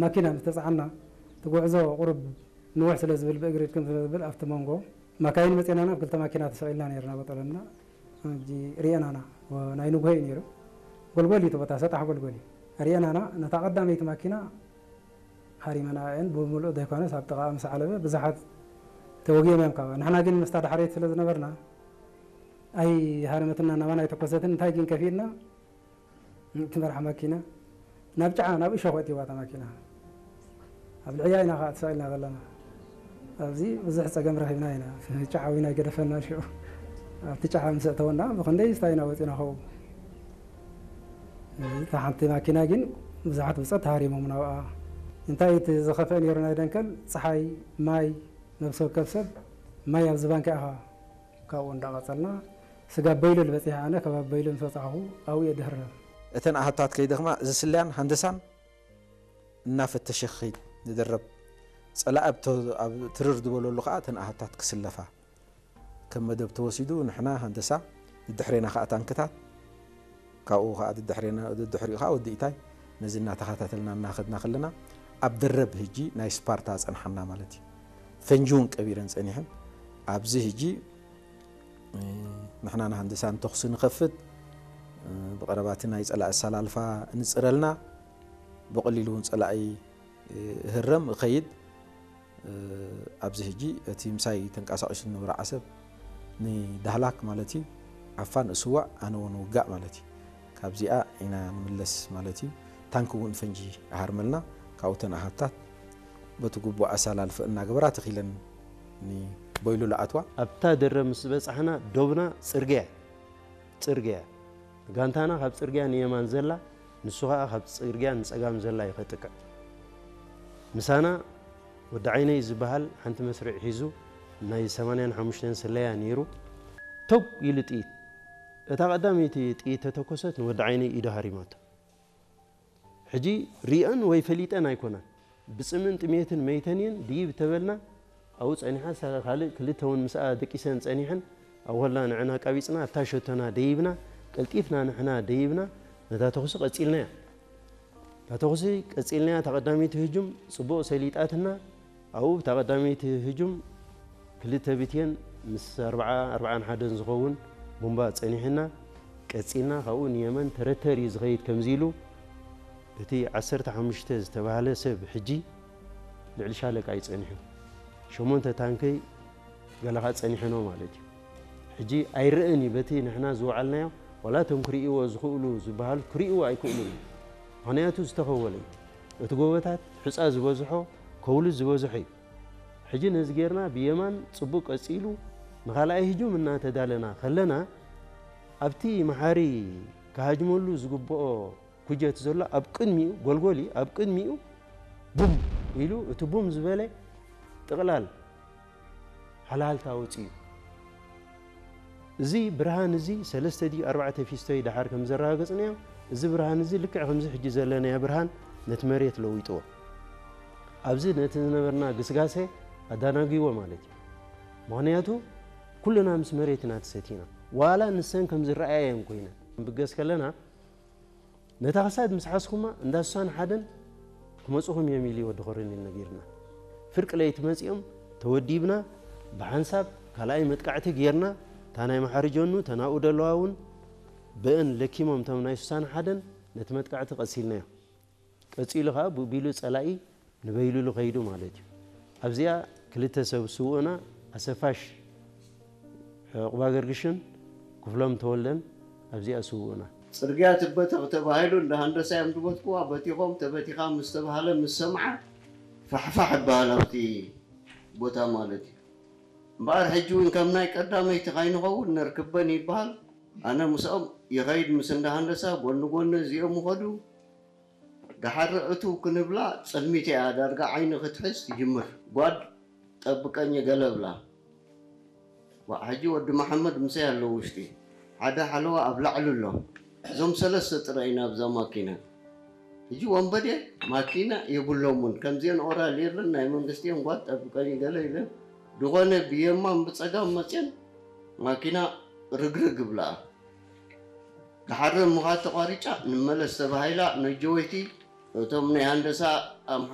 ማኪና ምስ ተጻዕና፣ እቲ ጉዕዞ ቁሩብ ንውሕ ስለ ዝብል፣ ብእግሪ ድክም ስለ ዝብል፣ ኣብቲ መንጎ ማካይን መጺናና፣ ኣብ ክልተ ማኪና ተሰቒልና ነይርና፣ በጠለና። ሕጂ ርኤናና፣ ወ-፣ ናይ ንግሆ እዩ ነይሩ። ጎልጎል እዩ እቲ ቦታ፣ ሰጣሕ ጎልጎል እዩ። ርኤናና፣ ነታ ቀዳመይቲ ማኪና ሃሪመና እየን፣ ብምሉእ ዘይኮነስ ኣብ ጥቓኣ ምስ ዓለበ ብዙሓት ተወጊኦም እዮም ካብኣ። ንሕና ግን ምስታ ዳሕረይቲ ስለ ዝነበርና፣ ኣይሃረመትና፣ ናባና ኣይተኮሰትን። እንታይ ግን ከፊእና፣ እቲ መርሓ ማኪና ናብ ጫዓ፣ ናብ እሾኽ ኣእትይዋ እታ ማኪና። ኣብ ልዕያ ኢና ኸዓ ተሰቒልና ዘለና። ኣብዚ ብዙሕ ጸገም ረኺብና ኢና። ጫዓ እውን ኣይገደፈና ሽዑ። ኣብቲ ጫዓ ምስ ኣእተወና፣ ብኽንደይ ስታይ ኢና ወጺና ኸው። እዚ እታ ሓንቲ ማኪና ግን ብዙሓት ብጾት ተሃሪሞም ናብኣ። እንታይ እቲ ዝኸፍአ ነይሩ ናይ ደንከል? ጸሓይ፣ ማይ፣ ነብሲ ወከፍ ሰብ ማይ ኣብዚ ባንካ ኢኻ። ካብኡ እንዳቐጸልና፣ ስጋብ በይሉል በጺሐ፣ ኣነ ከባቢ በይሉል ምስ በጻሕኹ ኣብኡ እየ ድህረም። እተን ኣሃታት ከይደኽማ፣ እዚ ስለያን ሃንደሳን እናፈተሸ ክኸይድ ንድረብ። ጸላኢ ኣብ ተ-፣ ኣብ ትርር ዝበለሉ ከኣ እተን ኣሃታት ክስለፋ። ከም መደብ ተወሲዱ፣ ንሕና ሃንደሳ፣ ድድሕሬና ከኣ ታንክታት፣ ካብኡ ከኣ ድድሕሬና፣ ድድሕሪኡ ከኣ ወዲ ኢታይ፣ ነዚ እናተኸታተልና እናኸድና ከለና፣ ኣብ ደረብ ህጂ ናይ ስፓርታ ጸንሓና ማለት እዩ። ፈንጂ እውን ቀቢረን ጸኒሐን። ኣብዚ ህጂ፣ እ፣ ንሕና ንሃንደሳን ተኹሲ ንኸፍት፣ እ፣ ብቐረባ እቲ ናይ ጸላኢ ኣሰላልፋ ንጽረልና፣ ብቐሊሉ እውን ጸላኢ፣ እ፣ እህረም፣ እኸይድ። እ፣ ኣብዚ ህጂ እቲ ምሳይ ተንቀሳቒሱ ዝነበረ ዓሰብ ንዳህላክ ማለት እዩ፣ ዓፋን እስዋእ፣ ኣነ እውን ውጋእ ማለት እዩ። ካብዚኣ ኢና ንምለስ ማለት እዩ። ታንክ እውን ፈንጂ ይሃርመልና። ካብኡ እተን ኣሃታት በቲ ግቡእ ኣሰላልፈ እናገበራ ተኺለን ንበይሉ ለኣትዋ። ኣብታ ደረ ምስ በጻሕና ዶብና ጽርግያ፣ ጽርግያ። ጋንታና ካብ ጽርግያ ንየማን ዘላ፣ ንሱ ኸኣ ካብ ጽርግያ ንጸጋም ዘላ እዩ ከጥቅዕ። ምሳና ወዲ ዓይነይ ዝበሃል ሓንቲ መስርዕ ሒዙ ናይ ሰማንያን ሓሙሽተን ስለያ ነይሩ። ቶግ ኢሉ ጥይት። እታ ቀዳመይቲ ጥይት ተተኮሰት ንወዲ ዓይነይ ኢዱ ሃሪማቶ። ሕጂ ሪአን ወይ ፈሊጠን ኣይኮናን። ብጽምን ጥሜትን መይተን እየን ድይብ ተበልና፣ ኣብኡ ጸኒሓ፣ ሳ-፣ ካልእ ክልተ እውን ምስኣ ደቂሰን ጸኒሐን፣ ኣብኡ ከለና ንዕና ኣቃቢጽና፣ ኣብታ ሸቶና ደይብና፣ ቀልጢፍና ንሕና ደይብና፣ ነታ ተኹሲ ቀጺልናያ። እታ ተኹሲ ቀጺልናያ፣ እታ ቀዳመይቲ ህጁም ጽቡቕ ሰሊጣትና፣ ኣብኡ እታ ቀዳመይቲ ህጁም ክልተ ብትየን ምስ ኣርብዓ፣ ኣርብዓን ሓደን ዝኸውን ቡምባ ጸኒሕና፣ ቀጺልና፣ ካብኡ ንየመን ተረተር እዩ ዝኸይድ ከምዚ ኢሉ፣ እቲ ዓሰርተ ሓሙሽተ ዝተባህለ ሰብ ሕጂ ልዕሊ ሻለቃ እዩ ጸኒሑ። ሸሞንተ ታንከይ ገለ ኸኣ ጸኒሐኖ ማለት እዩ። ሕጂ ኣይረእን እዩ በቲ ንሕና ዝወዓልናዮ፣ ዋላ እቶም ክርእይዎ ዝኽእሉ ዝበሃሉ ክርእይዎ ኣይክእሉን እዩ። ምኽንያቱ ዝተኸወለ እዩ። እቲ ጎቦታት ሑጻ ዝበዝሖ፣ ከውሊ ዝበዝሖ እዩ። ሕጂ ነዚ ጌርና ብየማን ጽቡቕ ቀጺሉ ንኻልኣይ ህጁም እናተዳለና ከለና፣ ኣብቲ መሓሪ ክሃጅመሉ ዝግብኦ ኩጀት ዘሎ ኣብ ቅድሚኡ፣ ጎልጎል እዩ፣ ኣብ ቅድሚኡ ቡም ኢሉ፣ እቲ ቡም ዝበለ ጥቕላል ሃልሃልታ ኣውጺኡ። እዚ ብርሃን እዚ ሰለስተ ድዩ ኣርባዕተ ፊስቶ እዩ ደሓር ከም ዘረጋገጽናዮ፣ እዚ ብርሃን እዚ ልክዕ ከምዚ ሕጂ ዘለናዮ ብርሃን ነቲ መሬት ለዊጥዎ። ኣብዚ ነቲ ዝነበርና ግስጋሴ ኣዳናጊዎ ማለት እዩ። ምኽንያቱ ኩልና ምስ መሬት ኢና ተሰቲና። ዋላ ንሰን ከም ዝረኣየን ኮይነን ክንብገስ ከለና፣ ነታ ክሳድ ምስ ሓዝኩማ እንዳ ሱሳን ሓደን ክመጹኹም እዮም ኢሉ ወዲ ኮረኔል ነጊርና። ፍርቂ ለይቲ መጺኦም ተወዲብና ብሓንሳብ ካልኣይ መጥቃዕቲ ጌርና፣ እታ ናይ መሓሪ ጀኑ፣ እተን ኣብኡ ደለዋ እውን ብእን ለኪሞም እቶም ናይ ሱሳን ሓደን ነቲ መጥቃዕቲ ቀሲልናዮ። ቀጺሉ ኸኣ ብቢሉ ጸላኢ ንበይልሉ ከይዱ ማለት እዩ። ኣብዚኣ ክልተ ሰብ ስውእና ኣሰፋሽ ዕቑባ ገርግሽን ክፍሎም ተወልደን ኣብዚኣ ስውእና። ጽርግያ ትበተኽ ተባሂሉ እንዳ ሃንደሳ እዮም ዝበትክዋ። በቲኾም ተበቲኻ ምስ ተባህለ ምስ ሰምዓ ፋሕፋሕ ይበሃል ኣብቲ ቦታ ማለት እዩ። እምበኣር ሕጂ እውን ከም ናይ ቀዳመይቲ ካይንኸውን ነርክበን ይበሃል። ኣነ ምስኦም ይኸይድ ምስ እንዳ ሃንደሳ ጎኒ ጎኒ እዚኦም ይኸዱ። ደሓር እትው ክንብላ ጸልሚት እያ ዳርጋ ዓይኒ ክትሕዝ ትጅምር። ጓድ ጠብቀኝ ገለ ብላ። ዋእ፣ ሕጂ ወዲ መሓመድ ምሰይ ኣሎ ውሽጢ። ሓደ ሓለዋ ኣብ ላዕሊ ኣሎ። እዞም ሰለስተ ጥራይ ኢና ኣብዛ ማኪና። ሕጂ ወንበዴ ማኪና የብሎምን። ከምዚአን ኦራል የለን ናይ መንግስቲ እየን ጓድ ጠብቀኝ ገለ ኢለን። ዝኾነ ብየማን ብጸጋም መጽየን ማኪና ርግርግ ብለኣ። ደሓር ምዃድ ተቋሪጫ ንመለስ ተባሂላ ነጀወይቲ እቶም ናይ ሃንደሳ ኣምሓ